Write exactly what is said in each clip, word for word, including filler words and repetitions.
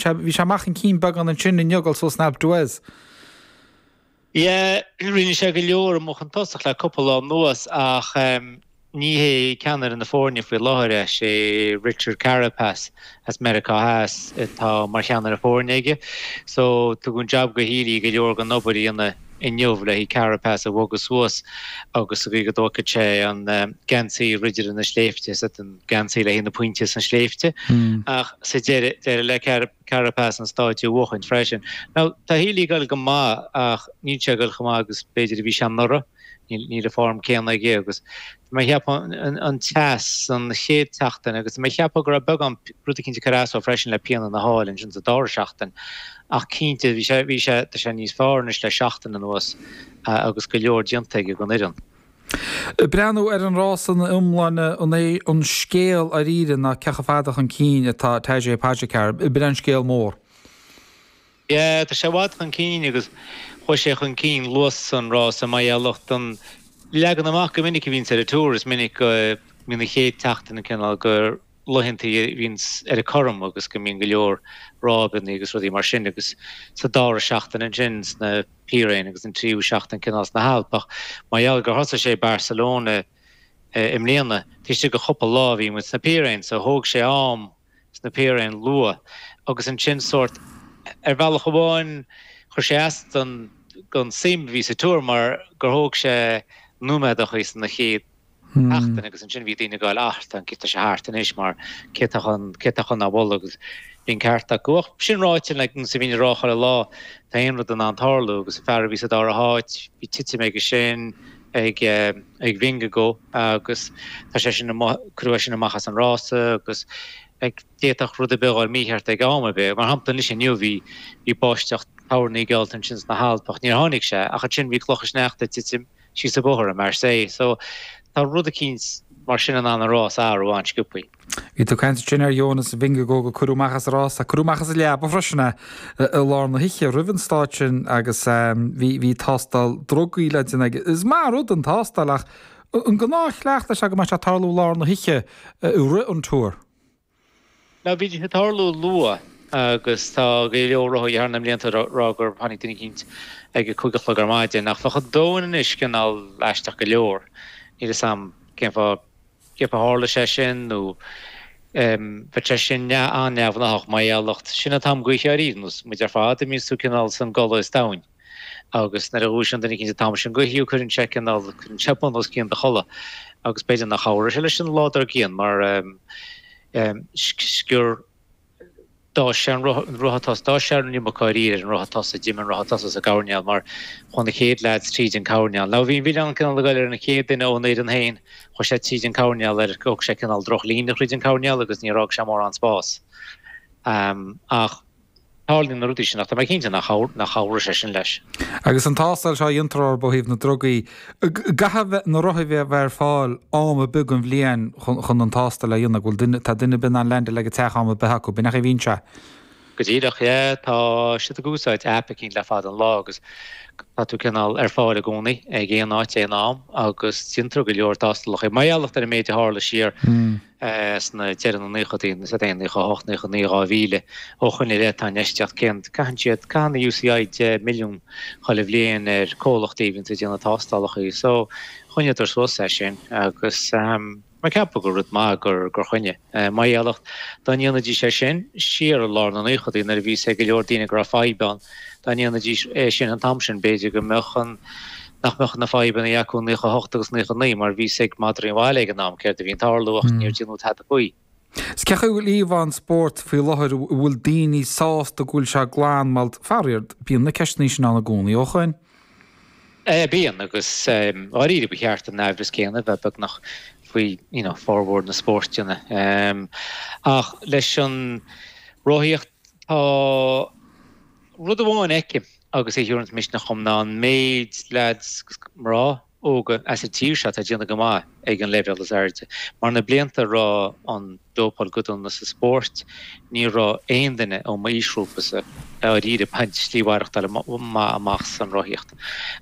Bhí sé amach chun cinn beagán ansin inniu ag dul suas an Alpe d'Huez. Yeah, rinne sé go leor amach chun tosach le cúpla lá anuas ach ní hé ceannaire na foirne faoi láthair é, sé Richard Carapaz as Meiriceá Theas atá mar cheannaire foirne aige. So tugadh an jab go Healy go leor den obair a dhéanamh inniu le haghaidh Carapaz a bhogadh suas agus sa gcaoi go dtógfadh sé an geansaí Ridire na Sléibhte, is an geansaí le haghaidh na pointe sna sléibhte. Ach sa deireadh, d'éirigh le Carapaz an stáitse a bhuachaint freisin. Now tá Healy ag dul go maith ach níl sé ag dul chomh maith agus b'fhéidir a bhí sé anuraidh. Níl an form céanna aige agus tá mé ag ceapadh an teas an chéad tseachtain agus tá mé ag ceapadh go raibh beagán rud eicínt ag cur as dó freisin le pian ina sháil ansin sa dara seachtain ach cinnte bhí sé bhí sé tá sé níos fearr anois le seachtain anuas agus go leor déanta aige don fhoireann. Breathnú ar an rás ina iomláine an é an scéal dáiríre ná cé chomh fada chun cinn atá Tadej Pogačar, b'in an scéal mór. Yeah, tá sé i bhfad chun cinn agus chuaigh sé chun cinn luath san rás mar gheall don leagan amach go minic a bhíonns ar an Tour, is minic go mbíonn an chéad tseachtain an cineál gur laethanta a bhíonns ar an cothrom agus go mbíonn go leor ráibeanna agus rudaí mar sin agus sa dara seachtain ansin sna Piréin agus an tríú seachtain cineál sna hAilp ach mar gheall gur thosaigh sé Barcelona i mbliana, taobh istigh de chúpla lá bhí muid sna Piréin so thóg sé am sna Piréin luath agus ansin sórt ar bhealach amháin chuir sé as don don suim a bhí sa Tour mar gur thóg sé nóiméadachaí sna chéad sheachtain agus ansin bhí daoine ag goil ah tá an tá sé thart anois mar cé tá chun cé tá chun a bhualadh agus bhí an ceart acu. Ach sin ráite like nós a bhíonn ag rá chuile lá tá aon rud in ann tarlú agus an fear a bhí sa dara háit bhí titim aige sin ag ag Vingegaard agus tá sé sin cuireadh é sin amach as an rása agus like d'fhéadfadh rud ar bith a dhul mícheart ag am ar bith. Mar shampla anois inniu bhí bhí báisteach toirní geallta ansin sna hAilp ach níor tháinig sé ach ansin bhí clocha sneachta ag titim síos an bóthar i Marseille. So tá rud eicínt mar sin in ann an rás a athrú an-sciobthaí. Bhí tú ag caint ansin ar Jonas Vingegaard gur cuireadh amach as an rás, cuireadh amach as an leaba freisin é i lár na hoíche roimh an stáit sin agus bhí bhí tástáil drugaí le déanamh aige. Is maith an rud an tástáil ach an gnáthchleachtadh is ea go mbeadh sé ag tarlú i lár na hoíche i rith an Tour. Now bhí sé ag tarlú luath agus tá go leor rothaithe thar na mblianta ag rá gur tháinig duine eicínt ag a cúig a chlog ar maidin ach bheadh an domhan anois cineál aisteach go leor. Níl a fhios a'm cén fáth cén fáth tharla sé sin nó bheadh sé sin an-neamhghnách mar gheall sin an t-am gaoithe ariamh nós muid ar fad a mbíonns tú cineál san gcodladh is domhain. Agus nuair a dhúisíonn duine eicínt an t-am sin gaoithe cuireann sé cineál cuireann sé bun os cionn do chodladh agus b'fhéidir nach chabhróidh sé leis an lá dár gcionn mar scior d'fhás sé an rotha tosaigh, d'fhás sé an iomarca dáiríre ar an rotha tosaigh, d'imigh an rotha tosaigh sa gcoirnéal mar chuaigh na chéad leaids tríd an coirnéal. Now bhí an milleán cineál ag goil ar an chéad duine ón fhoireann féin, chuaigh sé tríd an coirnéal ar, thóg sé cineál drochlíne thríd an coirnéal agus níor fhág sé mórán spás. Ach. Tarlaíonn na rudaí sin ach tá mé cinnte nach chabhróidh sé sin leis. Agus an tástáil seo a dhéantar orthu ó thaobh na ndrugaí, caithfidh na rothaithe a bheith ar fáil am ar bith den bhliain chun an tástáil a dhéanamh, go bhfuil duine, tá duine ar bith in ann leaindeáil ag an teach am ar bith acu, b'in é an chaoi a bhíonn sé. Go díreach, yeah, tá siad ag úsáid aip eicínt le fada an lá agus tá tú cineál ar fáil i gcónaí ag aon áit, aon am agus déantar go leor tástálacha. Mar gheall ar an méid a tharla siar sna deireadh na naochadaí, sa aon naocha a hocht, naocha a naoi, dhá mhíle, ó shoin i leith tá infheistíocht céanna, caitheann siad, caitheann na UCI deich milliún chuile bhliain ar comhlachtaí a bhíonns ag déanamh tástálacha so choinníodar suas é sin agus mé ceapadh gur rud maith gur gur choinnigh. Mar gheall dá ndéanfaidís é sin siar i lár na naochadaí nuair a bhí a fhios ag go leor daoine go raibh fadhb ann, dá ndéanfaidís é sin an t-am sin b'fhéidir go mbeadh an nach mbeadh na fadhbanna acu i naocha a hocht agus naocha a naoi mar bhí a fhios ag madraí an bhaile ag an am céard a bhí ag tarlú ach níor déanadh tada faoi. Is cén chaoi a bhfuil íomhá an spóirt faoi láthair, an bhfuil daoine sásta go bhfuil sé glan mar faraor bíonn na ceisteanna sin ann i gcónaí ó shoin. Bíonn agus dháiríre ba cheart an aimhreas céanna a bheith beagnach faoi you know formhór na spóirteanna. Ach leis an rothaíocht tá rud amháin a fheicim agus é a thabharanns misneach dhom ná an méid leaids agus mná óga as an tír seo atá ag déanamh go maith ag an leibhéal is airde. Mar na blianta a raibh an dópáil go dona sa spórt, ní raibh aon duine ó m'aoisghrúpasa dáiríre ag baint slí mhaireachtála maith amach san rothaíocht.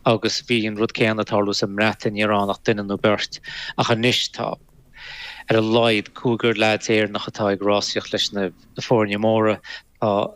Agus bhí an rud céanna ag tarlú sa mBreatain, ní raibh ann ach duine nó beirt. Ach anois tá ar a laghad cúigear leaids Éireannach atá ag rásaíocht leis na foirne móra. Tá